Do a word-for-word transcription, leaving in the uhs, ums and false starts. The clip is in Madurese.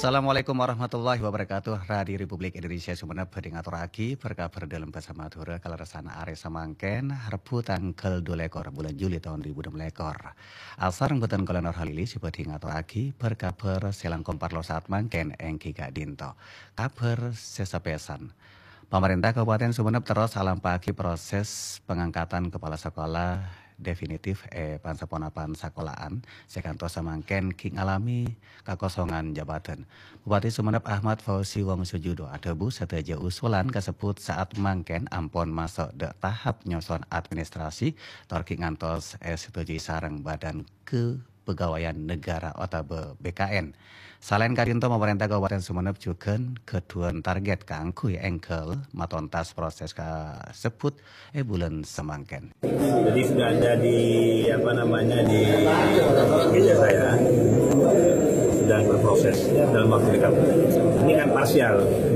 Assalamualaikum warahmatullahi wabarakatuh. Radio Republik Indonesia Sumenep bhâdhi ngatorraghi bâr-kabhâr dâlem bhâsa Madhurâ kalerressan arè samangkèn, Rebbhu tangghâl dua lèkor bulân Juli taon dua ribu enam lèkor. Asareng bhâdhân kaulâ Nur Halili sè bhâdhi ngatorraghi bâr-kabhâr sè langkong parlo saat mangkèn èngghi ka'dinto. Kabhâr sè sapèsan. Pamarènta Kabupaten Sumenep terros alampa'aghi proses pengangkatan kepala sekolah definitif è pan-saponapan sakola'an sè kantos samangkèn ghi' ngalamè kakosongan jabatan. Bupati Sumenep Ahmad Fauzi Wongsojudo adhâbu sadhâjâ usulan kasebbhut saat mangkèn ampon maso' dâ' tahap nyoson administrasi tor ghi' ngantos èsetujui sareng Badan Kepegawaian Negara otabâ B K N. Salaèn ka'dinto, pamarènta Kabupaten Sumenep jhughân ghâdhuwân target kaangghuy èngghâl matontas proses kasebbhut è bulân samangkèn. Jadi sudah ada di apa namanya di meja saya, sedang berproses dalam waktu dekat. Ini kan parsial.